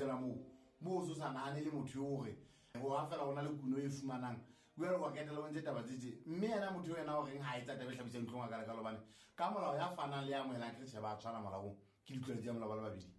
fihlela moo moo o so sa nahane le motho eo hore ho ha fela o na le kuno e fumanang jale wa ketela o ntse taba tse mme yena motho eo yena o reng ha etsa taba e hlabisang dihlong a kalekalo hobane ka molao ya fanang le ya amohelang ke re tjhe ba tshwana molaong ke ditlwaelo tsa molao ba le babedi.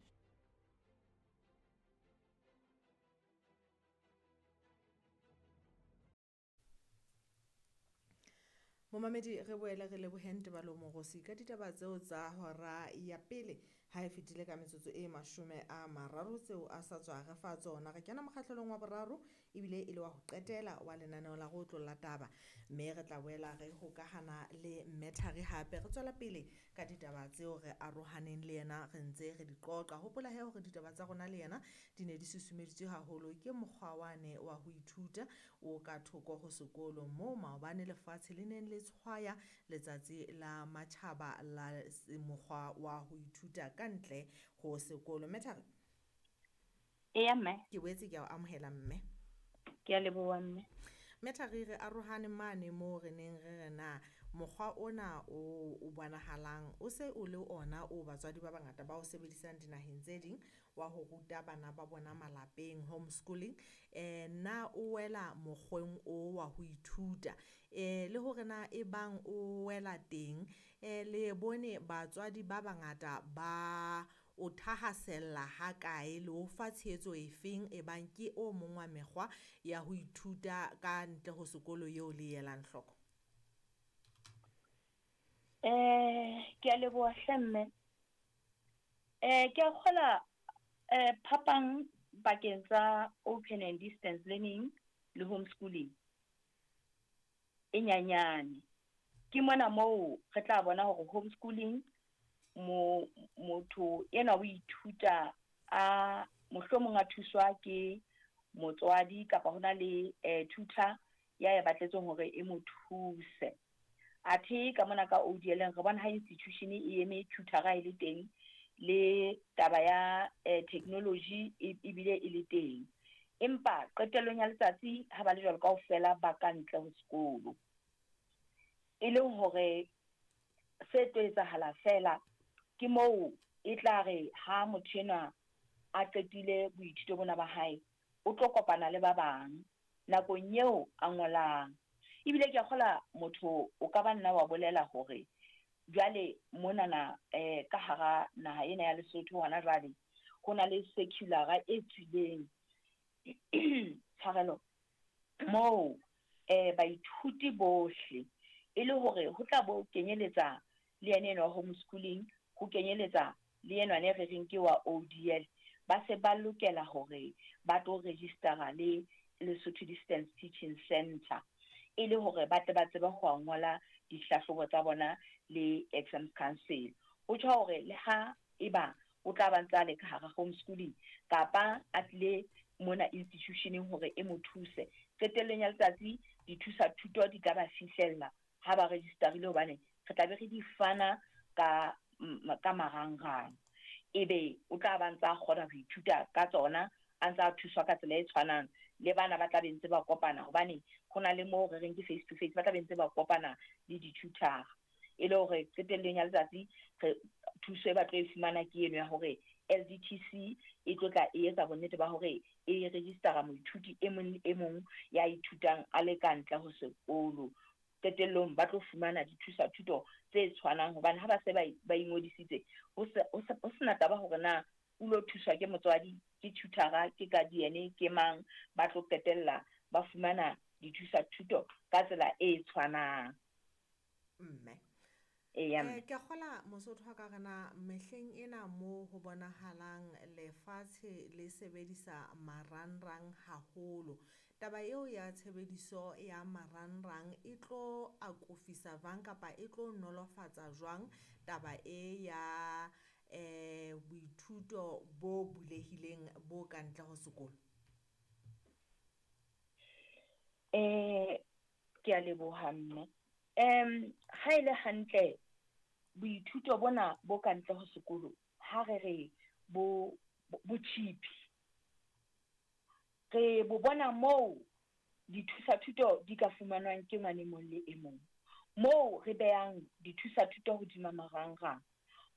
Momamedi re boele re leboheng Tebalo Mogosi ka ditaba tseo tsa hora ya pele ha e fetile ka metsotso e 30 tseo a sa tswa re fa tsona. Re kena mokgahlelong wa boraro ebile e le wa ho qetela wa lenaneo la go otlolla taba, mme re tla boela re hokahana le Mme Thari hape re tswela pele ka ditaba tseo re arohaneng le yena re ntse re di qoqa. Hopola he hore ditaba tsa rona le yena di ne di susumeditswe haholo ke mokgwa wane wa ho ithuta o ka thoko ho sekolo moo maobane lefatshe le neng le tshwaya letsatsi la matjhaba la mokgwa wa ho ithuta ka ntle ho sekolo. Mme Thari? Eya mme. Ke boetse ke a o amohela mme. Ke a leboha mme. Mme Thari, re arohane mane moo re neng re re na mokgwa ona o bonahalang o se o le ona o batswadi ba bangata ba o sebedisang dinaheng tse ding wa ho ruta bana ba bona malapeng, homeschooling, na o wela mokgweng o wa ho ithuta, le hore na e bang o wela teng, le bone batswadi ba bangata ba o thahasella ha kae le o fa tshehetso efeng e bang ke o mong wa mekgwa ya ho ithuta ka ntle ho sekolo eo le elang hloko? Ke a leboha hle mme. Ke a kgola phapang pakeng tsa open and distance learning le homeschooling e nyanyane. Ke mona moo re tla bona hore homeschooling motho enwa o ithuta a mohlomong a thuswa ke motswadi kapa hona le tutor ya e batletseng hore e mo thuse. Athe ka mona ka ODL re bona ha institution e eme tutor-a e le teng le taba ya technology ebile e le teng. Empa qetellong ya letsatsi ha ba le jwalo kaofela ba ka ntle ho sekolo. E leng hore se tlo etsahala fela ke moo e tla re ha motho enwa a qetile boithuto bona ba hae, o tlo kopana le ba bang nakong eo a ngolang. Ebile ke a kgola motho o ka ba nna wa bolela hore jwale monana ka hara naha ena ya Lesotho hona jwale ho na le circular e tswileng tshwarelo moo baithuti bohle e le hore ho tla bo kenyeletsa le yene enwa homeschooling, ho kenyeletsa le enwa ne re reng ke wa ODL, ba se ba lokela hore ba tlo registera le Lesotho Distance Teaching Center e le hore ba tle ba tsebe ho ngola dihlahlobo tsa bona le Exams Council. Ho tjho hore le ha eba o tla ba ntse a le ka hara homeschooling kapa a tlile mona institutioneng hore e mo thuse, qetellong ya letsatsi dithusa thuto di tla ba fihlella ha ba registerile, hobane re tla be re di fana ka marangrang. Ebe o tla ba ntse a kgona ho ithuta ka tsona, a ntse a thuswa ka tsela e tshwanang le bana ba tla be ntse ba kopana, hobane ho na le moo re reng ke face to face, ba tla be ntse ba kopana le di-tutor. E le hore qetellong ya letsatsi re thuso e ba tlo e fumana ke eno ya hore LDTC e tlo tla e etsa bonnete ba hore e registera moithuti e mong le e mong ya ithutang a le ka ntle ho sekolo. Qetellong ba tlo fumana dithusa thuto tse tshwanang, hobane ha ba se ba ingodisitse ho sena taba hore na o lo thuswa ke motswadi, ke tutor-a, ke guardian, ke mang, ba tlo qetella ba fumana dithusa thuto ka tsela e tshwanang. Mme. Eya, mme. Ke kgola Mosotho wa ka rena mehleng ena mo ho bonahalang lefatshe le sebedisa marangrang haholo. Taba eo ya tshebediso ya marangrang e tlo akofisa jwang kapa e tlo nolofatsa jwang taba e ya boithuto bo bulehileng bo ka ntle ho sekolo? Ke a leboha mme. Ha e le hantle boithuto bona bo ka ntle ho sekolo ha re re bo cheap, re bo bona moo dithusa thuto di ka fumanwang ke ngwane mong le e mong, moo re behang dithusa thuto hodima marangrang,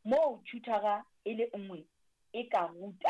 moo tutor-a e le nngwe e ka ruta